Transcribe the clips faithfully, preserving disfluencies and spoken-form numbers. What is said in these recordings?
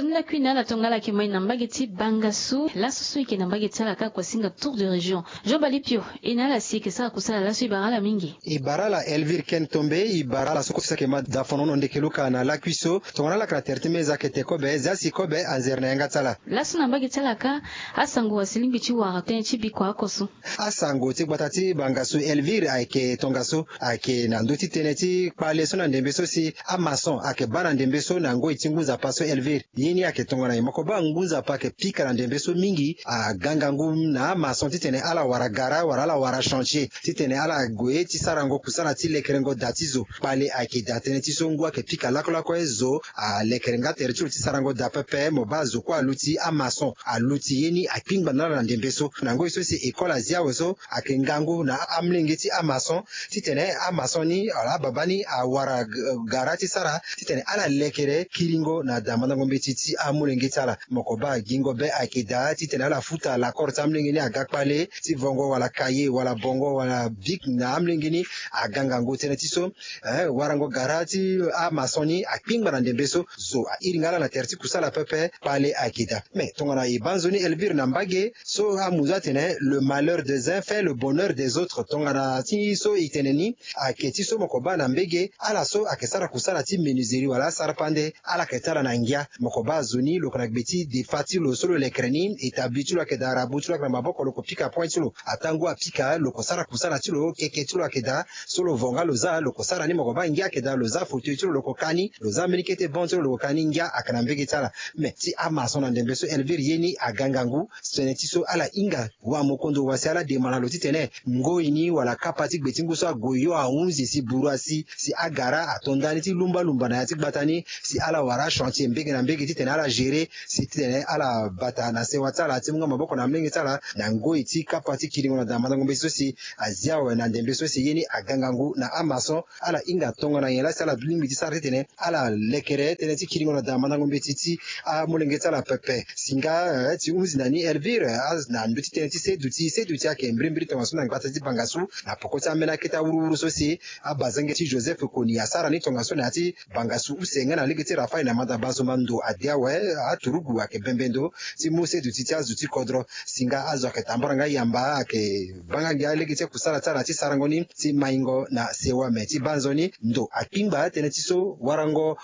Ni lakui na ala tongana ala yeke mai na mbage ti banga so laso so e yeke na mbage ti ala kâ kua singa tour de région. Jean Balipio, e na ala si e yeke sara kusala laso e bara ala mingi. E bara ala Elvire Ken Tombe, e bara ala so kue so ayeke ma dafonono ndeke luka na lakui so. Tongana ala yeke na tere ti meza kete kobe zia si kobe anzere na yanga ti ala. Laso na mbage ti ala kâ, asango asi lingbi ti wara tënë ti biko oko so. Asango ti gbata ti banga so Elvire ayeke tongaso ayeke na ndö ti tënë ti kpale so na ndembe so si amason ayeke baa na ndembe so na ngoi ti ngu nzapa so Elvire. Ye ni ayeke tongana nyen? Mo ko baa ngu nzapa ayeke pika na ndembe so mingi aga ngangu na amason titene ala wara gara wala ala wara chantier titene ala gue ti sarango kusala ti lekerengo da ti zo. Kpale ayeke daa tënë ti so ngu ayeke pika lakolako ye zo alekere nga tere ti lo ti sarango da pepe. Mo baa zo kue aluti amason aluti ye ni akpingba na ala na ndembe so. Na ngoi so si école azi awe so ayeke ngangu na amolenge ti amason titene amason ni wala ababa ni awara gara ti sara titene ala lekere kiringo na damandango mbeti ti amolenge ti ala. Mo ko baa gingo be ayeke daa titene ala futa lakore ti amolenge ni aga kpale ti vongo wala kaye wala bongo wala bik na amolenge ni aga ngangu tënë ti so. Warango gara ti amason ni akpingba na ndembe so zo airi nga ala na tere ti kusala pepe kpale ayeke daa. Me tongana e baa nzoni Elvire na mbage so amu zo atene le malheur des uns fait le bonheur des autres. Tongana ti so e tene ni ayeke ti so mo ko baa na mbage ala so ayeke sara kusala ti menuiserie wala asara pande ala yeke ti ala na ngia. Mo ko baa zo ni lo yeke na gbe ti defa ti lo so lo lekere ni établi ti lo ayeke daa arabu ti lo ayeke na maboko lo ko pika point ti lo atangu apika lo ko sara kusala ti lo keke ti lo ayeke daa. So lo vo nga lo za lo ko sara ni mo ko baa ngia ayeke daa lo za fauteuil ti lo lo ko ka ni lo za mbeni kete bon ti lo lo ko ka ni ngia ayeke na mbege ti ala. Me ti amason na ndembe so Elvire ye ni aga ngangu. Tënë ti so ala hinga wamokondo wa si ala demana lo titene ngoi ni wala kapa ti gbe ti ngu so ague yo ahunzi si buru asi si agara ato ndani ti lumbalumba na ya ti gbata ni si ala wara achantier mbege na mbege titene ala gérer si titene ala bata na sewa ti ala ti mu nga maboko na amolenge ti ala na ngoi ti kapa ti kiringo na damandango mbeti so si azi awe na ndembe so si ye ni aga ngangu na amason. Ala hinga tongana nyen laa si ala lingbi ti sara titene ala lekere tënë ti kiringo na damandango mbeti ti amolenge ti ala pepe. Singa ti hunzi na ni Elvire na ndö ti tënë ti seduti seduti ayeke mbirimbiri tongaso na gbata ti bangasu na poko ti ambeni akete awuruwuru so si abazenge ti Joseph Kony asara ni tongaso na ya ti bangasu use nga na lege ti Rafael na manda bazomba ndo ade awe. Aturugu ayeke bembe ndo ti mu seduti ti azo ti kodro. Singa azo ayeke tambara nga yamba ayeke baa nga ngia lege ti akusala ti ala ti sarango ni ti maingo na sewa me ti baa nzoni ndo akpingba tënë ti so warango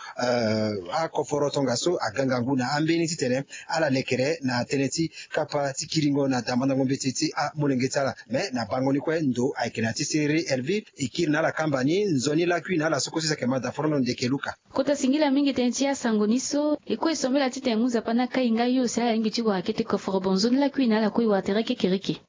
akoforo tongaso aga ngangu na ambeni titene ala lekere na tënë ti kapa ti kiringo na damandango mbeti ti amolenge ti ala. Me na bango ni kue ndo ayeke na ti seriri Elvire e kiri na ala kamba ni nzoni lakui na ala so kue so si ayeke ma daforono ndeke luka. Kota singila mingi tënë ti asango ni so e kue e sombela titene ngu nzapa ni akai nga yo si ala lingbi ti wara kete koforo bonzo ni lakui na ala kue e wara tere kekereke.